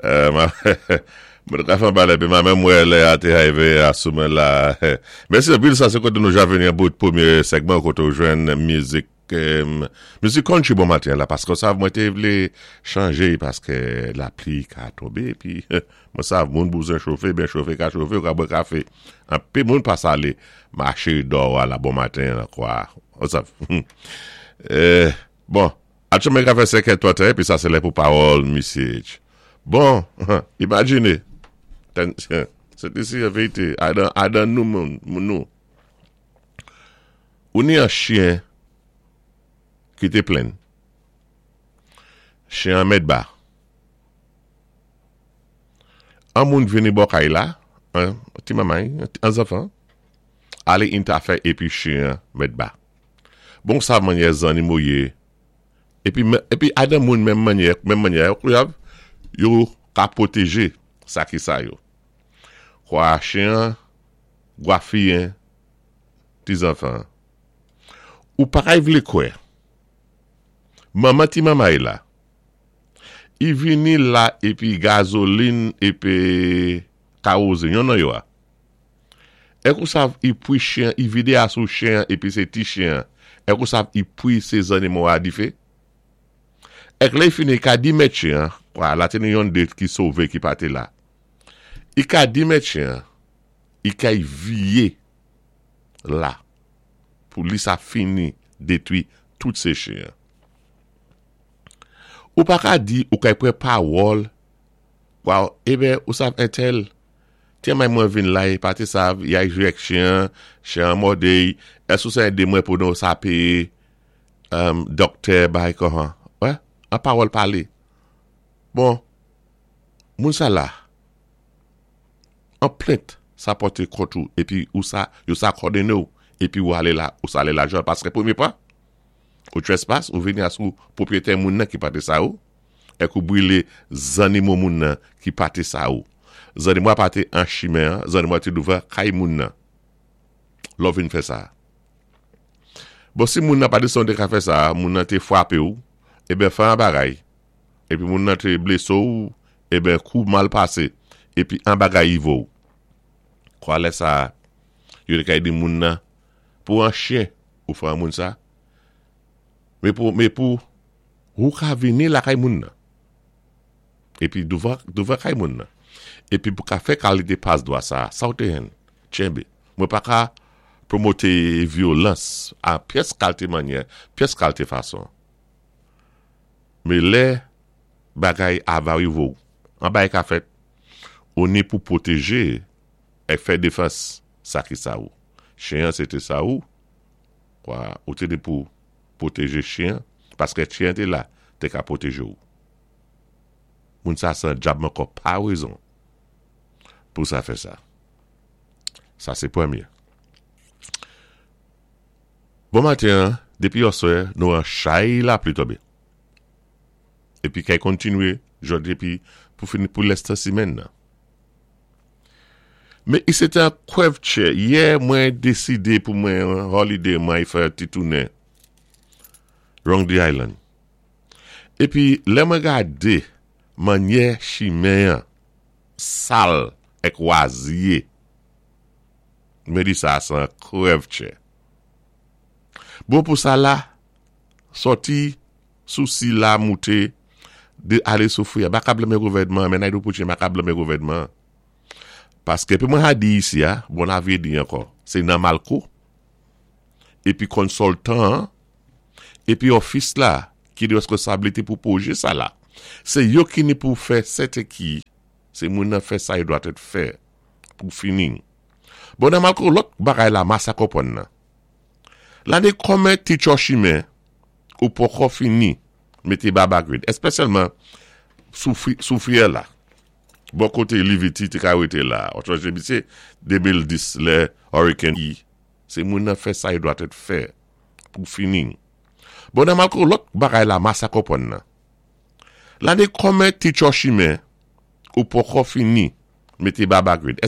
Mwen ka fè an epi mwen menm wè lè a te arive a sou mwen la. Mèsi anpil. Sa se kote nou ja vini an bout pwémyé segman koté ou jwenn mizik country bon maten la, paské sa mwen té vlé chanjé, paské lapli ka tonbé épi mwen sav moun bouzwen chofé, ben chofé ka chofé ou ka bwè kafé. Anpil moun pa sale maché dò a la bon maten an kwa. Ou sav. Bon, Aktyèlman ka fè 5 è 31 épi sa sé lè pou pawòl misij. Bon, imajiné, se te si an vérité, adan nou moun nou. Ou ni an chyen ki té plenn. Chyen an mèt ba. An moun vini bò kay la, an ti manmay, an zanfan, alé intafè épi chyen an mèt ba. Bon sa mannyè zannimo yé épi épi adan moun menm mannyè menm mannyè yo ka pwotéjé sa ki sa yo. Kwa chyen an gwafiyen ti zanfan an. Ou pa kay vlé kwè manman ti manmay la i vini la épi gazolin épi kawozin yonn nan yo a. Èk ou sav i pwi chyen i vide a sou chyen an epi se ti chyen an. Èk ou sav i pwi se zannimo a dife. Èk lè i fini i ka di mèt chyen an, kwa la te ni yonn de ki sove ki pa te la. I ka di mèt chyen an i kay viye la pou li sa fini detwi tout se chyen an. Ou pa ka di ou kay pran pawòl kwa eben ou sav entèl Ti may mwen vin la e pa te sav yay jwe ak chyen an, chyen an mòde y, èske ou sa ede mwen pou nou sa peye dòktè bay kòhan wè an pawòl pale bon moun sa la an plent sa pòte kont ou epi ou sa yo sa kòdone w epi ou ale la ou sa ale lajan paske premye pa ou trespass ou vini a sou pwopriyetè moun nan ki pa te sa ou. Èk ou brile zannimo moun nan ki pa te sa ou. Zannimo a pa te an chimen an, zannimo a te douvan kay moun nan. Lè w vin fè sa. Bon, si moun nan pa te san w te ka fè sa, moun nan te frape ou, eben fè an bagay. Epi moun nan te blese w, eben kou mal pase. Epi an bagay rive w. Kwa lè sa a, yo te ka di moun nan, pou an chyen ou fè an moun sa. Men pou, men pou. Ou ka vini lakay moun nan. Epi douvan, douvan kay moun nan. Epi pou ka fè kalite pas dwa sa a, sa ou te henn? Tchenbe. Mwen pa ka pwomote vyolans a pyès kalte mannyè, pyès kalte fason. Men lè bagay a va rive ou, an bagay ka fèt, ou ni pou pwoteje e fè defans sa ki sa ou. Chen an se te sa ou, kwa, ou te ni pou. Pwoteje chyen paske chyen te la te ka pwoteje w moun sa djab ankò pa rezon pou sa fè sa sa se premye bon maten an depi yèswè nou an chay lapli tonbe epi kay kontinye jodi epi pou fini pou lès simèn nan. Men i se te an kwèvtchè. Yè mwen deside pou mwen holiday mwen fè ti tounen round the island. Epi lè mwen gade mannyè chimen an sal èk wazye, mwen di sa se an krèvtchè. Bon pou sa la, sòti sou sila moute de ale sou fouya. M pa ka blame gouvènman an, men Naidoo Poutine m pa ka blame gouvènman an. Paske pou mwen ha di isi a, bon la vye di ankò, se nan Malko, epi konsoltan an, epi ofis la ki gen reskonsablite pou pwoje sa la. Se yo ki ni pou fè sèten ki se moun nan fè sa yo dwa tèt fè pou fini. Bon nan Malko lòt bagay la masa konprann nan. Lane kòmen ti tchò chimen ou poko fini mete babagrid, espesyalman sou fiyè la. Bò kote Livity te ka rete la. Ou sonje misye 2010 lè Hurricane I. Se moun nan fè sa yo dwa tèt fè pou fini. Bon nan malko lòt bagay la masa konprann nan. Lane kòmen ti tchò chimen ou poko fini mete babagrid.